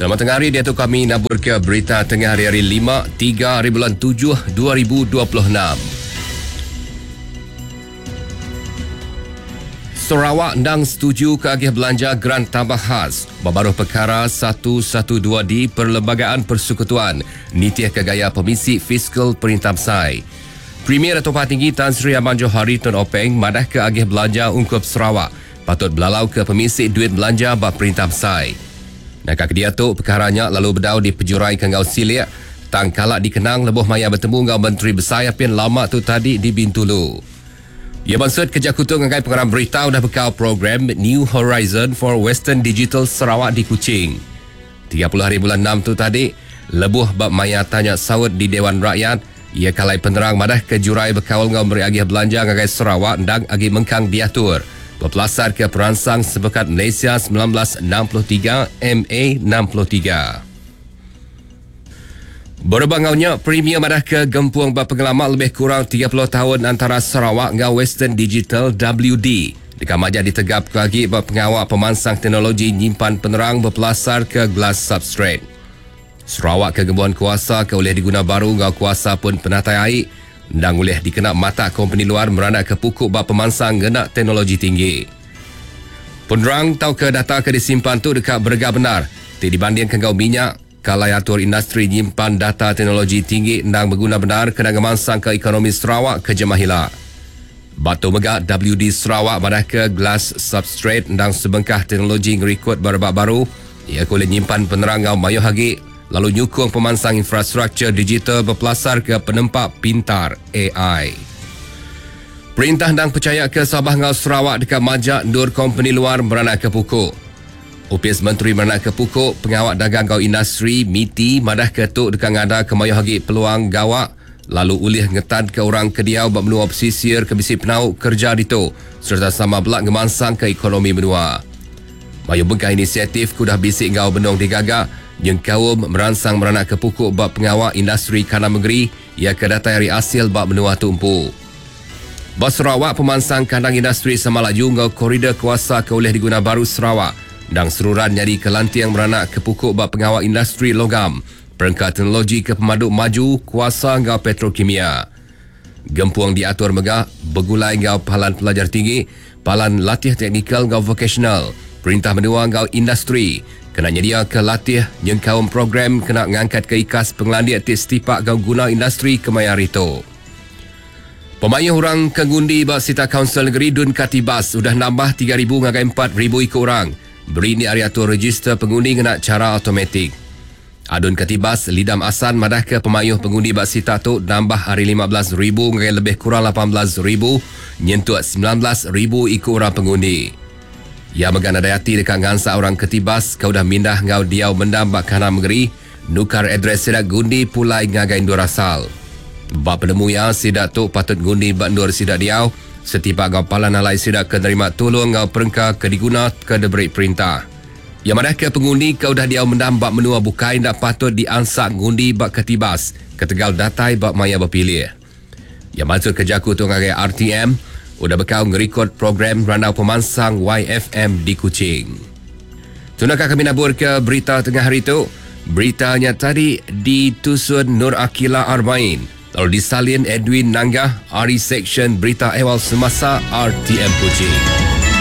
Selamat tengah hari diatu kami naburka berita tengah hari hari 5 3 hari bulan 7 2026. Sarawak endang setuju ke agih belanja grant tambah khas babaruh perkara 112 di Perlembagaan Persekutuan nitih ke gaya pemisi fiskal Perintah Besai. Premier Datuk Patinggi Tan Sri Abang Johari Tun Openg madah ke agih belanja ungkup Sarawak patut belalau ke pemisi duit belanja ba Perintah Besai. Naka ke diatu pekara nya lalu bedau dipejuraika enggau silik tang kala dikenang lebuh maya betemu enggau Menteri Besai apin lama tu tadi di Bintulu. Iya mansut ke jaku tu ngagai pengarang berita udah bekau program New Horizon for Western Digital Sarawak di Kuching. 30 hari bulan 6 tu tadi, lebuh ba maya tanya saut di Dewan Rakyat, iya kalai penerang madahka jurai bekaul enggau meri agih belanja ngagai Sarawak endang agi mengkang diatur bepelasarka Peransang Sempekat Malaysia 1963, MA 63. Berebak enggau nya, Premier madahka gempung ba pengelama lebih kurang 30 taun antara Sarawak enggau Western Digital, WD, deka majak ditegapka agi ba pengawa pemansang teknologi nyimpan penerang bepelasarka glass substrate. Sarawak ke ngembuan kuasa ke ulih diguna baru enggau kuasa pun penatai ai endang ulih dikena matak kompeni luar meranakka puku ba pemansang ngena teknologi tinggi. Penerang tauka data ke disimpan tu deka berega bendar ti dibandingka enggau minyak. Kalai atur industri nyimpan data teknologi tinggi endang beguna bendar kena ngemansangka ekonomi Sarawak ke jemah ila. Ba tu mega WD Sarawak madahka glass substrate endang sebengkah teknologi ngerikod ba rebak baru iya ke ulih nyimpan penerang enggau mayuh agi lalu nyukung pemansang infrastruktur digital bepelasarka penempa pintar ai. Perintah endang pechayaka Sabah enggau Sarawak deka majak endur kompeni luar meranakka puku. Opis Menteri Meranakka Puku, Pengawa Dagang enggau Industri, MITI, madahka tu deka ngadaka mayuh agi peluang gawa lalu ulih ngetanka orang ke diau ba menua pesisir ke bisi penau kereja ditu sereta sama bela ngemansangka ekonomi menua. Mayuh bengkah inisiatif ke udah bisi enggau benung digaga nyengkaum meransang meranakka puku ba pengawa industri kandang mengeri iya ke datai ari asil ba menua tu empu. Ba Sarawak, pemansang kandang industri Samalaju enggau koridor kuasa ke ulih diguna baru Sarawak endang seruran nyadika lanting meranak ke puku ba pengawa industri logam, perengka teknologi ke pemadu maju, kuasa enggau petrokimia. Gempung diatur mega begulai enggau Palan Pelajar Tinggi, Palan Latih Teknikal enggau Vokasional, Perintah Menua enggau Industri kena nyediaka latih nyengkaum program kena ngangkatka ikas pengelandik ti setipak enggau guna industri kemaya hari tu. Pemayuh orang ke ngundi ba sitak Kaunsil Negeri Dun Katibas udah nambah 3,000 ngagai 4,000 iku orang berindik ari atur rejister pengundi ngena chara automatik. Adun Katibas, Lidam Assan madahka pemayuh pengundi ba sitak tu nambah ari 15,000 ngagai lebih kurang 18,000 nyentuk 19,000 iku orang pengundi. Iya mega nadai ati deka ngansak orang Katibas ke udah mindah enggau diau mendam ba kandang mengeri Nukar address sida gundi pulai ngagai endur asal. Ba penemu iya, sida tu patut ngundi ba endur sida diau, setipak enggau palan alai sida ke nerima tulung enggau perengka ke diguna ke diberi perintah. Iya madahka pengundi ke udah diau mendam ba menua bukai enda patut diansak ngundi ba Katibas ketegal datai ba maya bepilih. Iya mansutka jaku tu ngagai RTM udah bekau ngerikod program Randau Pemansang YFM di Kuching. Tuna ka kami naburka berita tengah hari tu. Berita nya tadi ditusun Nur Akila Arbain lalu disalin Edwin Nanggah ari Seksyen Berita Ehwal Semasa RTM Kuching.